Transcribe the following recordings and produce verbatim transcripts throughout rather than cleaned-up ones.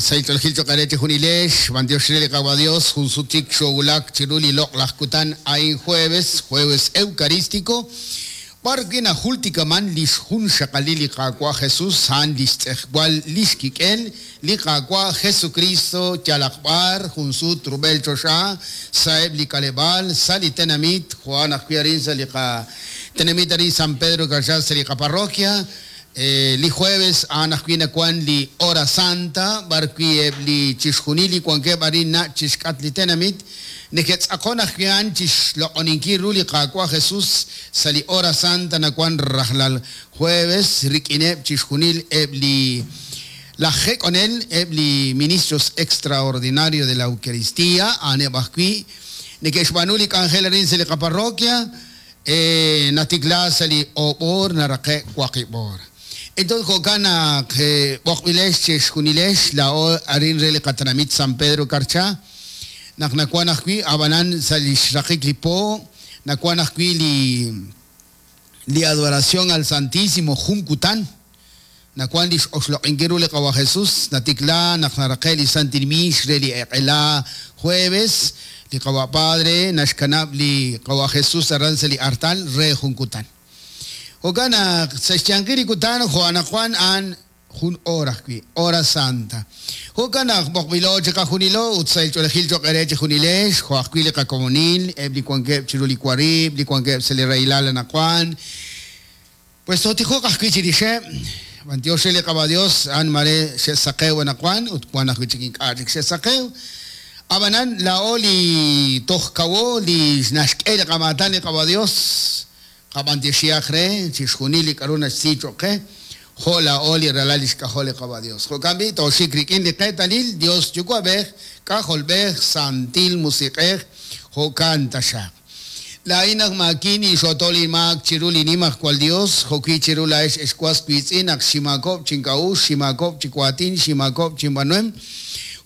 Saitolgil Dios, Junsutik Shogulak, Chiruli Lok Lajkutan, Ain jueves, jueves eucarístico. Barquina Jultikaman, Lishun Shakalili Kakwa Jesús, San Listejwal Lishkikel, Likakwa Jesucristo, Yalakbar, Junsut, Rubel Chosha, Saeb Likalebal, Sali Tenamit, Juan Ajuarin, Salika Tenamit Arin San Pedro Garza, Salika Parroquia. Eh, li jueves anajwina kwan li hora santa barqui li chixjunili kwankeb arin na chixk'at li tenamit neketz'aqon ajwian chixloq'oninki ru li qaawa Jesús sa li hora santa nakuan rajlal jueves rik'ineb chixjunil eb li la jek'onel eb li ministros extraordinario de la Eucaristía aneb ajwi neke'xb'aanu li k'anjel arin sa li qaparroquia eh, natikla sa li ob'or naraqe' waqib'or. Entonces, Jokana, Bokbilesh, Cheshkunilesh, la o Arin Rele Katanamit San Pedro Carcha, Naknakuanakui, Abanan Salishraqik Lipo, Nakuanakui li, li adoración al Santísimo Junkutan, Nakuan Lish Oshloqinkiru le Kawa Jesús, Natikla, Naknaraqeli Santirmish, Reli Eqela, jueves, li Kawa Padre, Nashkanab li Kawa Jesús, Arranzeli Artal, Re Junkutan. Okana, Sechangiri Kutan, Juana Juan an Jun hora, hora santa. Okana, Bokbilo, Cheka Junilo, Utsail Cholejil Chokereche Junilesh, Joaquile Kakomonil, Ebli Kuankeb Chiruli Kuarib, Licuanqueb Celerailala Nacuan. Pues Totijo Casquichirishe, Bantiosele Cabadios, An Mare Shesakeu Nacuan, Utkuana Huichikin Arik Shesakeu. Abanan, la Oli Tojkawo, Li Nashkel Kamatán Cabadios. Abantixiajre, Chixjunili, Karuna, Sichoque, Jola, Oli, Ralalis, Cajole, Cabadios. Jocambi, Toshikrikin, Liquetalil, Dios, Yucuabej, Cajolbej, Santil, Musiquej, Jocantashak. La Inag Makini, Xotoli, Mac, Chiruli, Nimach, cual Dios, Joqui, Chirula, Es, Escuas, Cuitzinac, Shimacob, Chincaú, Shimacob, Chicuatín, Shimacob, Chimbanuem.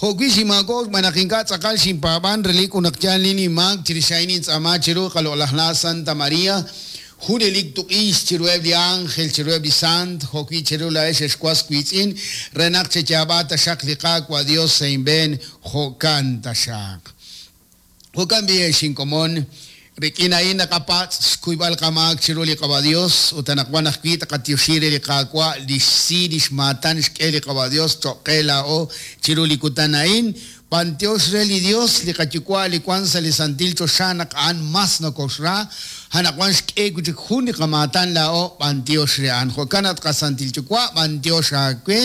Joqui, Shimacob, Manakinka, Tzakal, Shimpaban, Relic, Unakchan, Lini, Mac, Chirishainin, Tzama, Chiru, Jalolajna, Santa María. Jurelik tuqis chirueb li ángel chirueb li sant joqui chirula es escuas cuitzin renak chechabata shak liqaqua Dios seinben jokanta shak jokan bi shinkomon rikina ina kapats kuibal kamak chiruli qaba Dios utanakwan ajwi taqatioshire liqaqua lixsi lixmatan xk'e liqaba Dios choqela o chiruli kutanain Panteos reli Dios, li kachikua li kwanza li santil choshanak an mas no koshra, hanakwan xk'e kuchik juni kamatan la o panteos rean. Jokanat kasantil chukua, panteos akwe,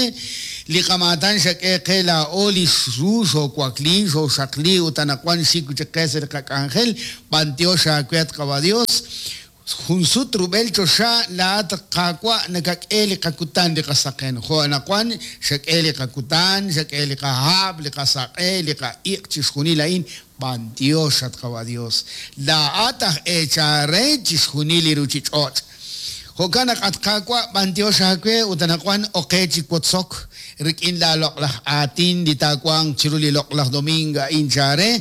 li kamatan xak'e qe la o li xru, xokuakli, xoxakli, utanakwan xikuchik qeser kak ángel, panteos akwe at kaba Dios. Junsut rubel chosha la at qaqwa nakak'e li qakutan li qasaqen jo anaqwan xak'e li qakutan xak'e li qahab li qasaq'e li qa'iq chixjunil a'in bantiox at qawa Dios la ataj echare chixjunil li ruchich'och jo'kan naq at qaqwa bantiox akwe ut anaqwan oqe chikwotzok rik'in la loq'laj aatin li taawan chiru li loq'laj domingo a'in chare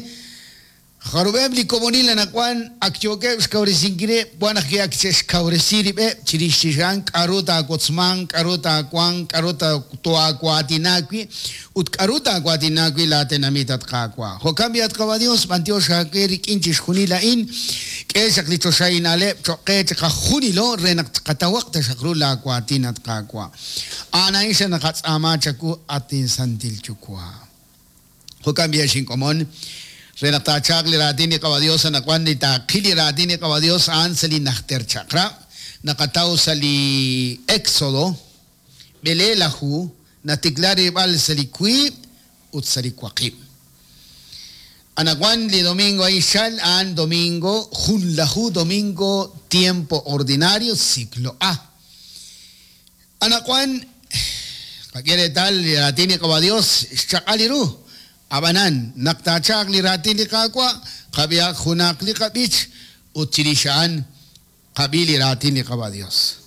Jarubeb li komonil anakwan akyoke xkawresinkire buanaj ke akchexkawresiribe chirixixan k'aruta akotzman k'aruta akuan k'aruta toakuatinakui ut k'aruta akuatinakui la tenamit atqakua jo'kan atqaba Dios bantiox akwe rik'in chixjunil a'in k'e xaq li choxainaleb choqe chiqajunilo re naq qatawaq taxaq ru la akuatin atqakua a'an xa naqatz'ama chaku atin santil chukua jo'kan bi xinkomon Renatachak li ratini kabadios anakuan li taqili ratini kabadios an sali najter chakra nakataw sali Éxodo belelahu natiklari bal sali kui ut sali kuaqib anakuan li domingo ahí shal an domingo junlahu domingo tiempo ordinario ciclo A anakuan kakere tal li ratini kabadios chakaliru Abanan, naktachak li ratin li kakwa, kabiak hunak li kabich, utchirishaan, kabili ratin li kaba Dios.